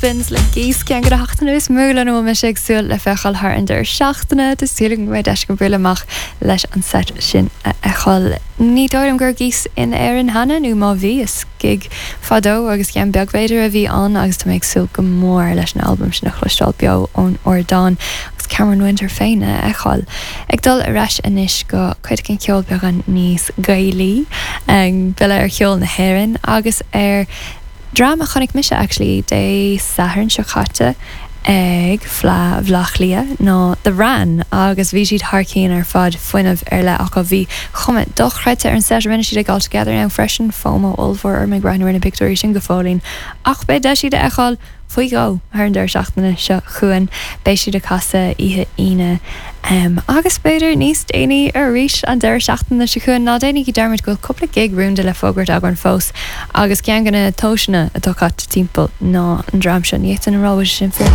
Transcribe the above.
Dolphins le Geese ceann de na hachtanna is mó lena bhfuil mise ag súil le feiceáil thar an deireadh seachtaine. Tá súil agam go mbeidh deis agam bualadh amach leis an seit sin a fheiceáil. Ní dóigh liom go raibh Geese in Éirinn cheana, nó má bhí, is gig fadó agus ceann beag b'fhéidir a bhí ann agus tá mé ag súil go mór leis an albam sin a chloisteáil beo ón ardán agus Cameron Winter féin a fheiceáil. Ag dul ar ais anois go cuid den cheol beagán níos Gaelaí, buille ar cheol na hÉireann agus ar Dream a chonaic mise actually Dé Sathairn seo caite ag Fleadh Bhaile Átha Cliath ná The Wran agus bhí siad thar cionn ar fad, fuinneamh ar leith acu. Bhí cuma dochreidte ar an set a rinne siad ag All Together Now freisin, FOMO ollmhór orm ag breathnú ar na pictiúirí sin go fóillín ach beidh deis iad a fheiceáil faoi dhó thar an deireadh seachtaine seo chugainn. Beidh siad ag casadh oíche Aoine agus b'fhéidir níos déanaí arís an deireadh seachtaine seo chugainn. Ná déanaigí dearmad go bhfuil cúpla gig rúnda le fógairt againn fós agus ceann de na tomhaiseanna atá caite timpeall ná an dream seo. Ní fhéadfainn a rá bhfuil sé sin fíor.